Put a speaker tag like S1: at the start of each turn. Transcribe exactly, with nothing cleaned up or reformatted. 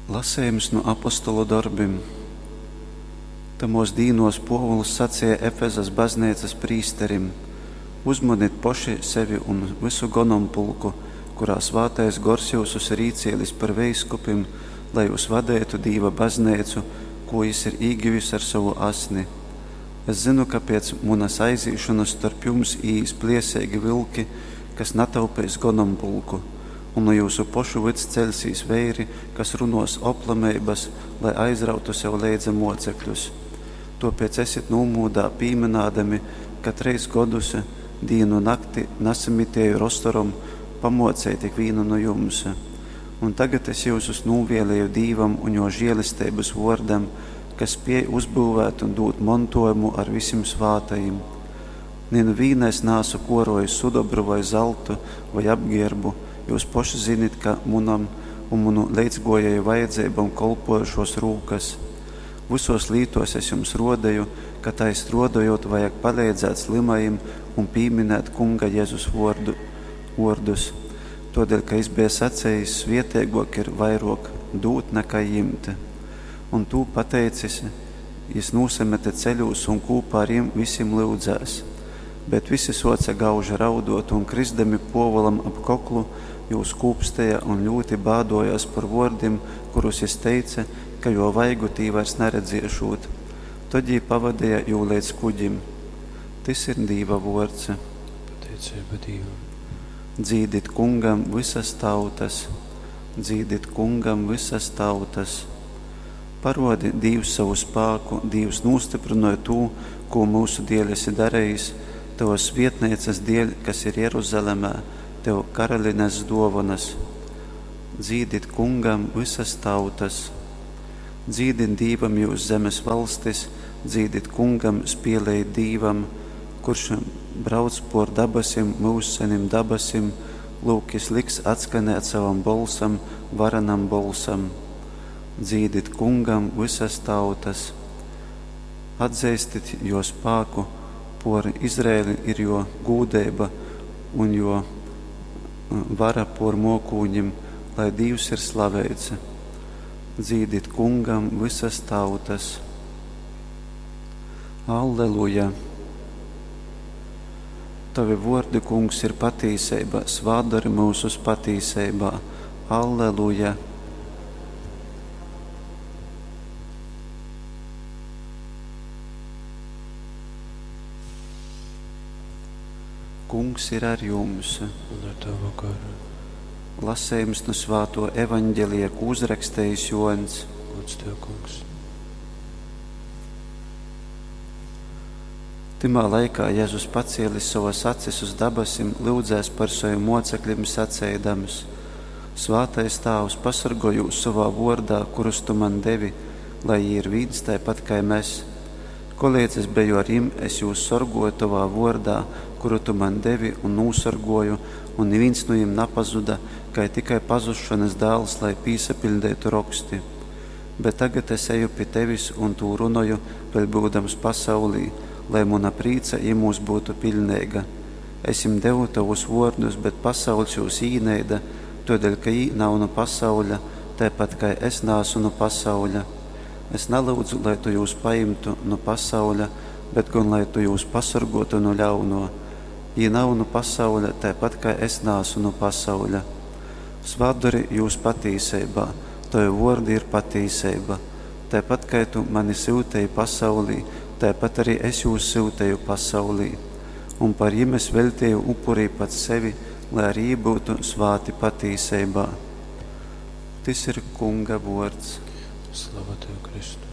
S1: Lasejums nu apostolu dorbim. Tamōs dīnōs Pōvuls saceja Efezas bazneicas prīsterim, Uzmonit poši sevi un vysu gonompulku, kurā Svātais Gors jyusus ir īcēlis par veiskupim, lai jyus vadeitu Dīva bazneicu, kū jys ir īgyvis ar sovu asni. Es zynu, ka pēc munas aizīšonas storp jums īīs plēseigi vylki, kas nataupeis gonompulku. Un nu jyusu pošu vyds ceļsīs veiri, kas runōs oplameibas, lai aizrautu sev leidza mōcekļus. Tōpēc esit nūmūdā, pīmynādami, ka trejs godus, dīnu nakti, nasamitieju ar osorom pamōceit ikvīnu nu jums. Un tagad es jyusus nūvieleju Dīvam un Jō žēlesteibas vōrdam, kas spēj uzbyuvēt un dūt montōjumu ar visim svātajim. Ni nu vīna es naasu kōrōjis sudobru voi zaltu, voi apgērbu, jyus poši zinit, ka munom un munu leidzgōjēju vajadzeibom kolpōja šōs rūkas. Vysōs lītōs es jums rōdeju, ka tai strōdojūt vajag paleidzēt slymajim un pīminēt Kunga Jezus vōrdu, vōrdus, tōdēļ ka jys beja sacejis, Svēteigōk ir vairōk dūt nakai jimt. Un tū pateicis, jys nūsamete ceļūs un kūpā ar jim visim lyudzēs. Bet visi sōce gauži raudōt un, kryzdami Pōvulam ap koklu, jū skūpsteja un ļūti bādōjōs par vōrdim, kurus jys teice, ka jō vaigu tī vairs naredziešūt. Tod jī pavadeja jū leidz kuģim. Tys ir Dīva vōrds.
S2: Pateiceiba Dīvam.
S1: Dzīdit Kungam vysas tautas, dzīdit Kungam vysas tautas. Parōdi, Dīvs, sovu spāku, Dīvs, nūstyprynoj tū, kū myusu dēļ esi darejis, tovas svētneicas dēļ, kas ir Jeruzalemē, tev karalines dōvonas. Dzīdit Kungam vysas tautas. Dzīdit Dīvam jyus zemes valstis, dzīdit Kungam, spielejit Dīvam, kurš brauc pōr dabasim, myužsenim dabasim, lūk, jys liks atskanēt sovam bolsam, varenam bolsam. Dzīdit Kungam vysas tautas. Atzeistit jō spāku, pōr Izraeli ir jō gūdeiba un jō vara pōr mōkūņim, lai Dīvs ir slaveits. Dzīdit Kungam vysas tautas. Alleluja! Tovi vōrdi, Kungs, ir patīseiba, svātdori myusus patīseibā. Alleluja! Kungs ir ar jums.
S2: Un ar tavu garu.
S1: Lasejums nu svātō Evaņgelija, kū uzrakstejis Jōņs.
S2: Gods tev, Kungs.
S1: Tymā laikā Jezus pacēlis sovas acis uz dabasim, lyudzēs par sovim mōceklim saceidams: Svātais Tāvs, pasorgoj jūs sovā vōrdā, kurus tu man devi, lai jī ir vīns taipat kai mes. Koleidz es beju ar jim, es jūs sorgōju tovā vōrdā, kuru tu man devi, un nūsorgōju, un nivīns nu jim napazuda, kai tikai pazusšonas dāls, lai pīsapiļdeitu roksti. Bet tagad es eju pi tevis un tū runoju, vēļ byudams pasaulī, lai muna prīca jymūs byutu piļneiga. Es jim devu tovus vōrdus, bet pasauļs jūs īneida, tōdēļ ka jī nav nu pasauļa, taipat kai es naasu nu pasauļa. Es nalyudzu, lai tu jūs pajimtu nu pasauļa, bet gon lai tu jūs pasorgōtu nu ļaunō. Jī nav nu pasauļa, taipat kai es naasu nu pasauļa. Svātdori jūs patīseibā, tovi vōrdi ir patīseiba. Taipat kai tu mani syuteji pasaulī, taipat arī es jūs syuteju pasaulī. Un par jim es veļteju upurī pats sevi, lai arī jī byutu svāti patīseibā. Tys ir Kunga vōrds.
S2: Slava tev, Kristu.